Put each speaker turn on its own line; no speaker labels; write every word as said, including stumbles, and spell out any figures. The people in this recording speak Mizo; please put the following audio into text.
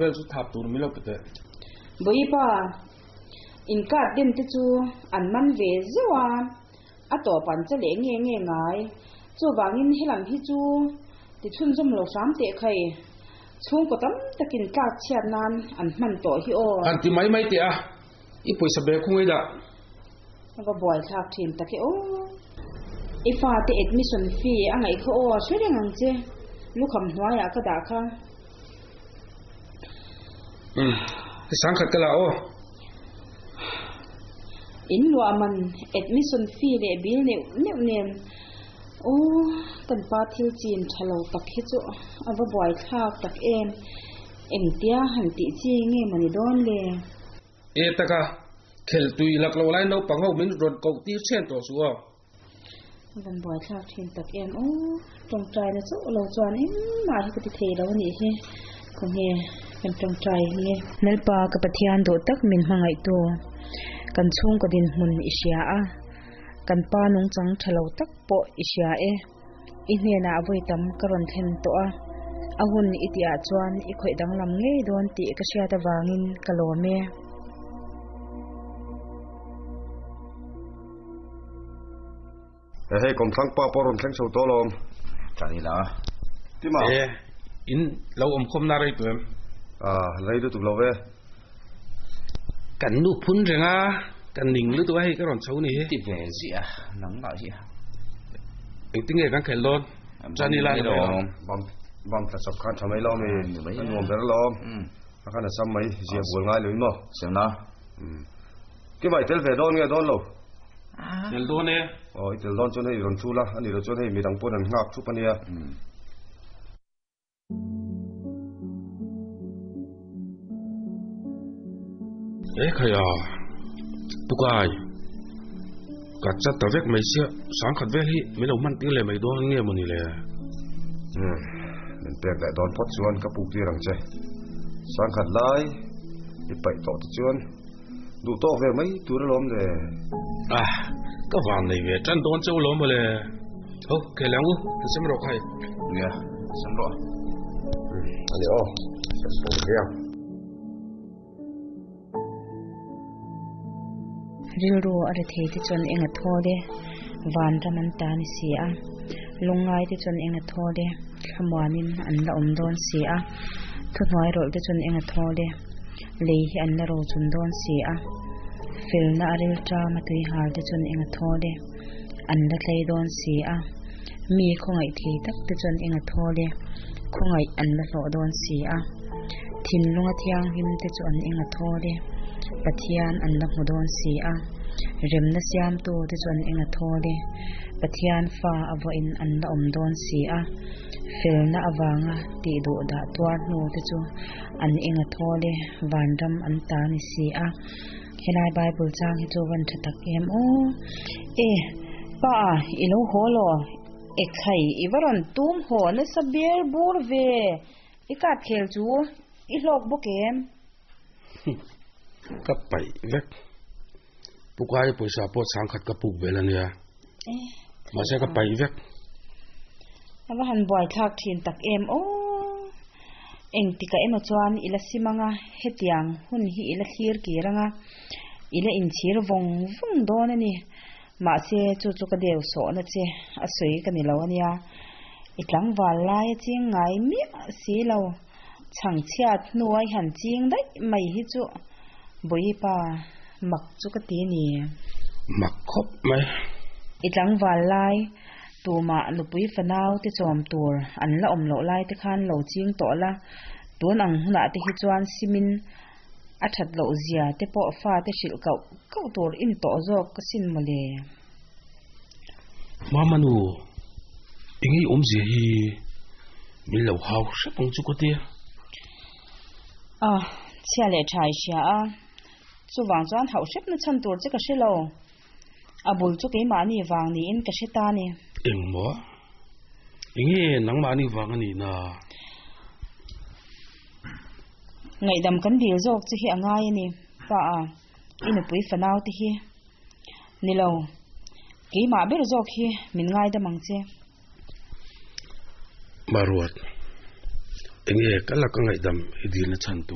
Vel chu thap tur min lo pe teh.
Bawipa, in card den te chu an man ve zeuh a, a tawp an che leh nge nge ngai. Chuvangin helam hi chu ti chhunzawm lo hram teh khai. Chhungkaw tam takin tlak chhiat nan an hman tawh hi aw.
Han ti mai mai teh a, i pawisa bag khung ei dah.
A va buai thlak thin tak e aw. I fate admission fee a ngaih kha aw, hre reng ang che. Lukham hnuaiah ka dah kha.
Umm, i sangkhat ka la aw.
In luah man admission fee leh bill neuh neuh nen aw, kan pa thil chin tha lo tak hi chu a va buai thlak tak em. Engtia han tih chi nge mawni dawn le?
E taka, khel tui lak lo lai naupang ho min rawn koh tir chhen tawh suh aw.
A van buai thlak thin tak em aw, tawngtaina chauh lo chuan engmah hi ka ti thei lo a nih hi, khawnge kan tawngtai nge. Lalpa ka Pathian duh tak min hmangaihtu, kan chhungkaw dinhmun i hria a, kan pa nungchang tha lo tak pawh i hria e, i hnenah vawi tam ka rawn thlen tawh a, a hun i tihah chuan i khawih danglam ngei dawn tih ka hriat avangin ka lawm e.
E hei kawmthlang pa pawh rawn thleng chho tawh alawm.
Tani la.
Tima.
E, in lo awm khawm na rei tuh em?
Ah, rei lutuk lo ve.
Kan nu phun reng a, kan ning lutuk a hei ka rawn chho ni hi.
Ti ve ziah nangmah hi.
Engtin nge kan khelh dawn? Tani la ni mai.
Bam bam tla chawp khan tha mai lo mi. A nuam ber alawm. A khan a sam mai zia bual ngai lo in maw?
Sem na.
Tima i tel ve dawn nge dawn lo?
Tel dawn e.
Aw i tel dawn chuan hei rawn thu la, a nih loh chuan hei midang pawn an nghak thup a nia.
E khai a, Pukai, ka chat ta vek mai sia, sangkhat vel hi min lo hman tir leh mai dawn nge mawni le?
Umm, min pek leh dawn phawt chuan ka puk tir ang che. Sangkhat lai i paih tawh te chuan duh tawk ve mai tur alawm le.
Ah, ka van nei ve tan dawn cheu lawm mawle. Ho, ke lang u, ka sem rawh khai.
Nia, sem rawh.
Ani aw, sem rawh hiang.
Rilru a ri thei te chuan eng a thawl e, vanram an ta ni si a. Lungngai te chuan eng a thawl e, thlamuanin an la awm dawn si a. Thuhnuai rawlh te chuan eng a thawl e, lei hi an la ro chun dawn si a. Felna a ril ṭam a tui hal te chuan eng a thawl e, an la tlei dawn si a. Mi khawngaih thei tak te chuan eng a thawl e, khawngaih an la hlawh dawn si a. Thinlunga thianghlim te chu an eng a thawl e, Pathian an la hmu dawn si a. Remna siamtu te chu an eng a thawl e, Pathian fa a vawiin an la awm dawn si a. Felna avanga tih duh dah tuar hnu te chu an eng a thawl e, vanram an ta ni si a. Helai Bible chang hi chu van tha tak em aw. E, pa i lo haw law? E khai, i va rawn tum haw nasa ber bur ve. I kat khel chu i hlawk bawk em?
Ka paih vek. Pukai pawisa pawh chhangkhat ka puk vel a nia. Mahse ka paih vek.
A va han buai thlak thin tak em aw. Engtika emaw chuan i la sim anga, hetiang hun hi i la thlir kir anga, i la inchhir vawng vawng dawn a ni. Mahse chu chu ka deu sawhna che a sawi ka ni lo a nia. I tlangval lai a ching ngai miah si lo. Chhangchhiat hnuai han ching daih mai hi chu Bawipa mak chu ka ti ni.
Mak khawp mai.
I tlangval lai tumah nupui fanau te chawm tur an la awm loh lai te khan lo ching tawh la, tun ang hunah te hi chuan simin a that loh zia te pawh fa te hrilh kauh kauh tur in tawh zawk ka sin mawle.
Mama nu, engei awmzia hi min lo hau hrep ang chu ka tia.
Ah, chhia leh tha i hria a, chuvang chuan hauh hrep na chhan tur che ka hre lo. A bul chu keimahni vang niin ka hre ta ni.
Engmaw? Enge nangmahni vang a nih na?
Ngaihdam kan dil zawk che hi a ngai a ni, pa a, i nupui fanau te hi. Ni lo, keimah ber zawk hi min ngaidam ang che.
Maruat, Enge ka laka ngaihdam i dilna chhan tur?